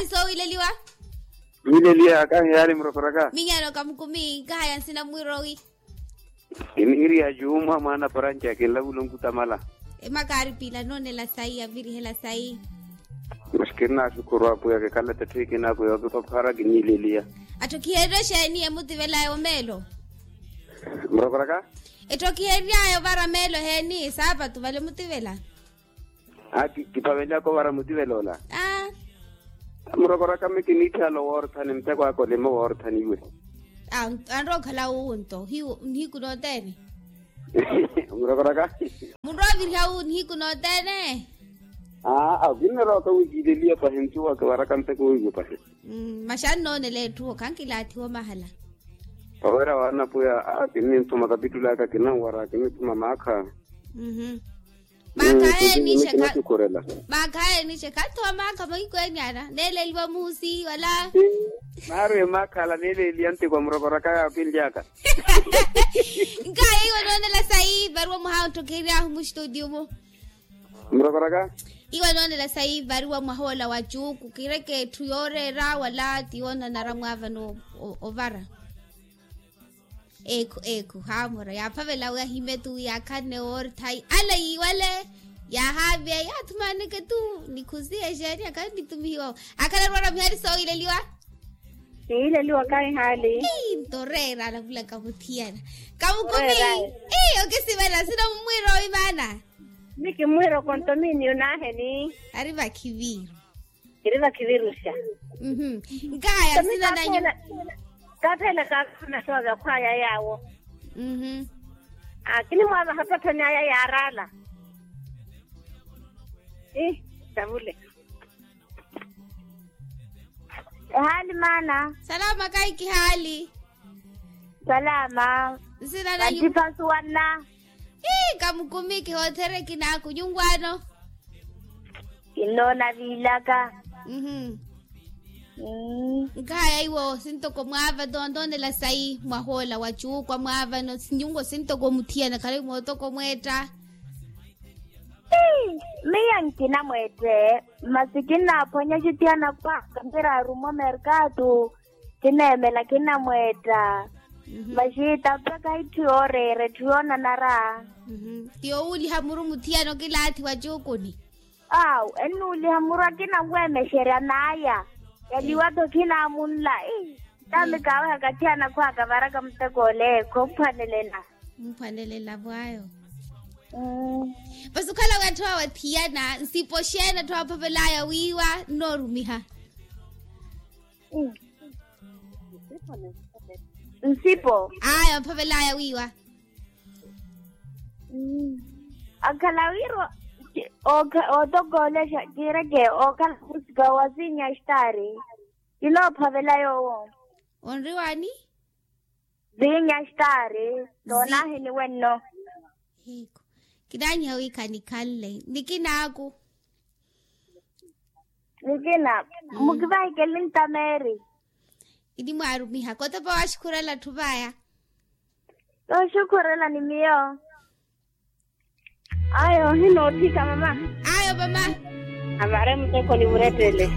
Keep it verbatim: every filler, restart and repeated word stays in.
Soowileliwa. Mileliya kahi yaari murokoraka. Minyano kamukumi nkahaya nsina mwirowi. Kiniiriya juumwa mwaana paranca kinlavula onkutamala. Emakaari piila noonela sayi avirihela sayi. Masi kirinasukhuru apuya kikhala tatthi kinaku yookipaphara kiniileliya. Atthu khiheeriwe xeeni emutivelayo meelo. Murokoraka. Etthu okiheeryayo ovara meelo eheeni saapatu vale mutivela. Aa kiphavelaka ovara mutivela ola. Aa. Murokoraka mi kiniitthihala owoorthani muteko aka olima owoorthani iwe. Anrookhala wuwu nto nihiku nooteene. Murokoraka. Munro oviriha wuwu nihiku nooteene. Aa kinirooka wi kiileliya pahi ncuwa kivaraka muteko wiiwe pahi. Masi annoonela etthu okhankilaathiwa omahala. Oweera waanapuya aa kininthuma kapitulaka kinanwara kinithuma maakha. Maakha aye nixe khatthowa maakha mahiku eniana neeleeliwa muusi wala. Maari emaakha ala neeleeliya ntiko murokoraka yaakinlyaka. Nkaya iwe noonela sayi varuwa mwaha ontthokheryahu mustutiyo-mo. Murokoraka. Iwe noonela sayi varuwa mwaha ola wa cuuku kireke etthu yooreera wala ti yoonanara mwaavano ovara. Ekhu ekhu haamura yaaphavela wi ahime tu yaakhanne woori thayi ala yiiwale. Yaahaavye yaathumaneke tu nikhusiye exeeni akhala nitumihiwa. Akhala arwara mihari soowileliwa. Siileliwa kahi haali. Nto oreera alavulaka muthiyana. Kamukumi. Okisivela sina mumwiira owi maana. Ni kimwiira okontomini onaheni. Ari vakhiviru. Kiri vakhiviruxa. Nkaya sinananyu. Kaphela kakhuna sooza khwaya yaawo. Kinimwaavaha pathoni aya yaarala. Ii tavule. Ehaali maana. Salama kaiki haali. Salama. Nsinananyu. Vantipasuwanna. Ii kamukumi kihoothereki naaku nyunwaano. Kinnoona viilaka. Nkaya iwo sintoko mwaava tontonela sayi mwahoola wa cuukwa mwaavano sinyungo sintoko muthiyana khalayi mootoko mweetta. Miyo nkinamweette. Masi kinnaaphwanya xitiyana khwaka niraarumo merkatu. Kineemela kinamweetta. Maxita mpakha itthu yooreera etthu yoonanara. Ti owuuliha muru muthiyana okilaathi wa cuukuni. Awu ennuuliha muru akinanweemexerya n'aya. Yaliwa-tho khinaamunla. Ii taami kaawehaka thiyana khwaka varaka muteko ole khomphwanelela. Mphwanelela vwaayo. Masi okhala wi atthu awe athiyana nsipo xeeni atthu awe aphavelaya wiiwa nnoorumiha. Nsipo. Aya aphavelaya wiiwa. Akhala wiiro. Ootokoolexa kiireke ookhala musika wa siinya xitaari. Kinoophavela yoowo. Onriwaani. Siinya xitaari. Toonaheni wenno. Hiiko. Kinaanyiha wi khanikhanle nikinaaku. Nikina. Mukivahikeli ntameeri. Kinimwaarumiha kotopa waxukhurela atthu vaya. Tooxukhurela ni miyo. Ayo ohinootthika mama. Ayo mama. Amare muteko nimurettele.